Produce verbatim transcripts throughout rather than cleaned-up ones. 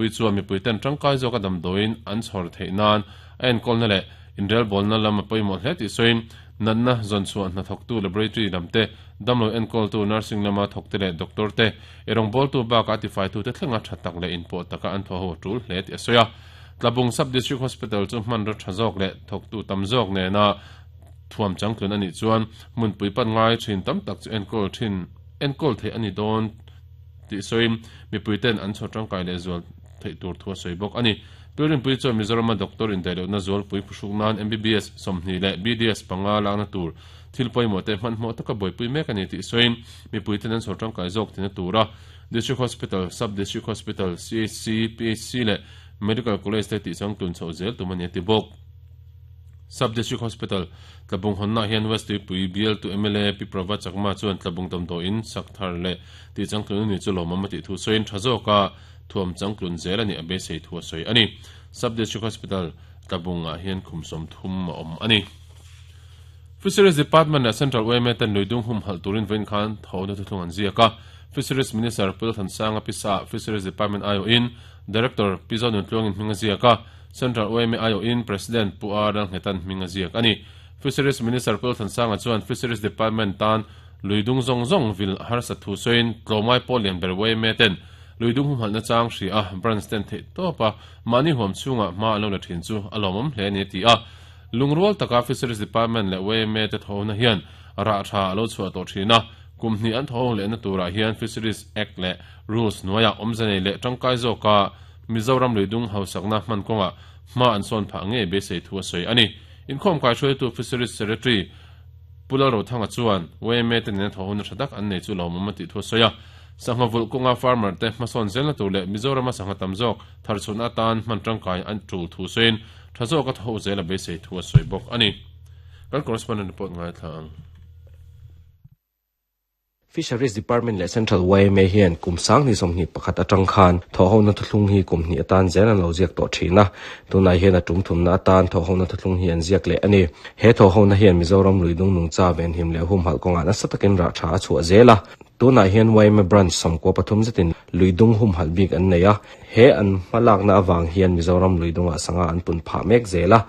Pui chuan mipui ten tangkai zawk a damdawiin an chhawr theih nan a enkawl na leh inrel bawlna lam a pawimawh hle tih sawiin natna zawn chhuah hnathawktu laboratory lam te damlo enkawltu nursing lama thawk te leh doctor te eirawng bawltu bakah a tifaitu te thlenga tha tak leh inpawh taka an thaw ho a tul hle tih a sawi a. Tlabung Sub District Hospital chu hmanraw tha zawk leh thawktu tam zawk nena thuam changtlun anih chuan hmunpui pan ngai thin tam tak chu enkawl thin enkawl theih ani dawn tih sawiin mipui ten an chhawr tangkai leh zual theih tur thu a sawi bawk ani. Tuirinpui chuan Mizorama doctor indaihlohna zualpui phuhruk nan M B B S sawmhnih leh B D S panga lakna tur thil pawimawh te hmanhmawh taka buaipui mek ani tih sawiin mipui ten an chhawr tangkai zawk thina tura District Hospital, Sub District Hospital, C H C, P H C leh Medical College te tih changtlun chhoh zel tum ani a ti bawk. Sub District Hospital Tlabung hawnna hian West Tuipui B L tu M L A Pi Prabha Chakma chuan Tlabung damdawiin sak thar leh tih changtlun ani chu lawmawm a tih thu sawiin tha zawka thuam changtlun zel ani a beisei thu a sawi ani. Sub District Hospital Tlabungah hian khum sawm thum a awm ani. Fisheries Department leh Central U M A ten luidung hum halh turin vawiin khan thawhna thuthlung an ziak a. Fisheries Minister Pu Thansanga Pisa Fisheries Department I O in Director Pi Zonun Tluangin hming a ziak a. Central U M A I O in President Pu R Lalnghetan hming a ziak ani. Fisheries Minister Pu Thansanga chuan Fisheries Department tan luidung zawng zawng vil harsa thu sawiin tlawmngai pawh lian ber U M A ten luidung hum halhna chang hri a branch ten theih tawp a mahni huam chhungah hma an lo la thin chu a lawmawm hle ani a ti a. Lungrual taka Fisheries Department leh U M A te thawhna hian rah tha a lo chhuah tawh thin a. Kum hnih an thawh lehna turah hian Fisheries Act leh Rules hnuaiah awmze leh tangkai zawka Mizoram luidung hausakna hman kawngah hma an sawn phah ngei beisei thu a sawi ani. Inkhawm kai hruaitu Fisheries Secretary Pu Lalrothanga chuan U M A te nena thawhna tha tak an nei chu lawmawm a tih thu a sawi a. Sangha vulh kawnga farmer te hmasawn zelna tur leh Mizorama sangha tam zawk tharchhunna atan hman tangkai an tul thu sawiin tha zawka thaw zel a beisei thu a sawi bawk ani. Kan correspondent report ngai thla ang. Fisheries Department leh Central Y M A hian kum sang ni sawmhnih pakhat atang khan thawhhona thuthlung hi kum hnih atan zel an lo ziak tawh thin a. Tunah hian a tum thumna atan thawhhona thuthlung hi an ziak leh ani. He thawhhona hian Mizoram luidung nungcha venhim leh hum halh kawngah nasa takin rah tha a chhuah zel a. Tunah hian Y M A branch sawmkua pathum zetin luidung hum halh bik an nei a. He an hmalakna awang hian Mizoram luidungah sanga an pun phah mek zel a.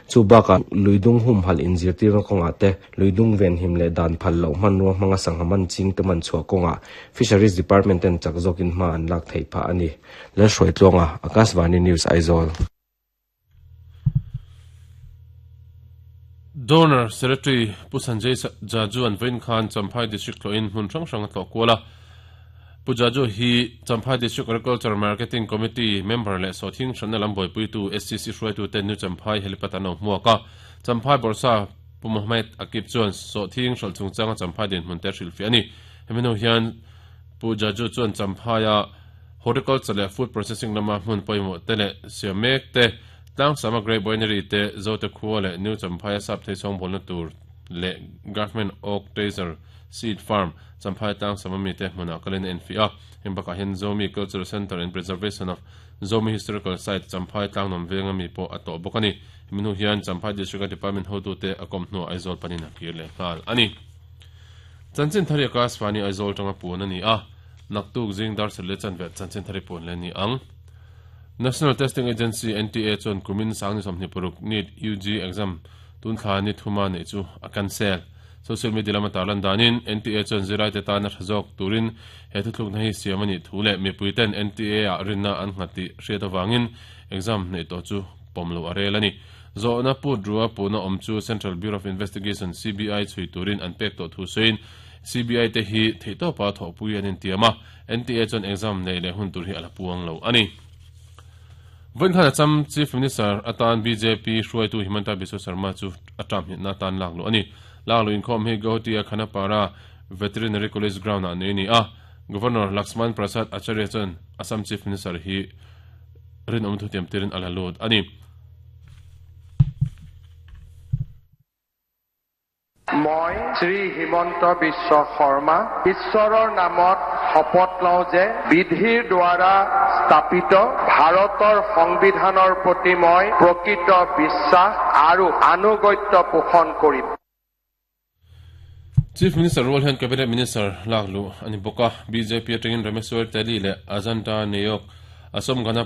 Chu baka luidung hum halh inzirtir kawngah te luidung venhim leh dan phal loh hman ruang hmanga sangha man ching te man chhuah kawngah Fisheries Department ten chak zawkin hma an lak theih phah ani. Lalhruai Tluanga, Akashvani News Aizawl. Donor Secretary Pu Sanjay Jaju an vawiin khan Champhai District tlawhin hmun hrang hrang a tlawh kual a. Pu Jaju hi Champhai District Agriculture Marketing Committee member leh sawhthing hranna lam buaipuitu S C C hruaitu ten New Champhai helipad an lo hmuak a. Champhai Borsa Pu Mohammed Akib chuan sawhthing hralh chungchanga Champhai dinhmun te hrilhfiah ani. Hemi hnu hian Pu Jaju chuan Champhaia horticulture leh food processing lama hmun pawimawh te leh siam mek te tlangsama Great Winery te Zote Khua leh New Champhaia sap thei chhawng bawlna tur leh Government Oak Taser Seed Farm Champhai tlangsama mi te hmunah kalin a enfiah a. Heng bakah hian Zomi Cultural Center and Preservation of Zomi Historical Site Champhai tlangnuam venga mi pawh a tawh bawk ani. Hemi hnu hian Champhai District Department hotu te a kawm hnuah Aizawl panin a kir leh nghal ani. Chanchin thari Akashvani Aizawl tanga pun ani a. Naktuk zing dar sel le chanve chanchin thari pun le ni ang. National Testing Agency N T A chuan kumin sang ni sawmhnih paruk NEET U G exam tun thla ni thuma nei chu a cancel. Social media lama tarlan danin N T A chuan zirai te tan a tha zawk turin he thuthluk na hi siam ani thu leh mipui ten N T A a rinna an nghat tih hriat awangin exam nei tawh chu pawm lo a rel ani. Zawhna put rua puna awm chu Central Bureau of Investigation C B I chui turin an pek tawh thu sawiin C B I te hi theih tawpa thawhpui an intiam a. N T A chuan exam nei leh hun tur hi a la puang lo ani. Vawiin khan Assam Chief Minister atan B J P hruaitu Himanta Biswa Sarma chu a term hnihna tan lak lo ani. Lak lo inkhawm hi Guwahati a Khanapara Veterinary College ground ah nei ni a. Governor Laxman Prasad Acharya chuan Assam Chief Minister hi rinawm thu tiam tirin a la lut ani. মই শ্ৰী হিমন্ত বিশ্ব শৰ্মা ঈশ্বৰৰ নামত শপত লওঁ যে বিধিৰ দ্বাৰা স্থাপিত ভাৰতৰ সংবিধানৰ প্ৰতি মই প্ৰকৃত বিশ্বাস আৰু আনুগত্য পোষণ কৰিম। Chief Minister Rol hian Cabinet Minister lak lu ani bawk a. B J P atangin Rameshwar Teli leh Ajanta Neyok Assam Gana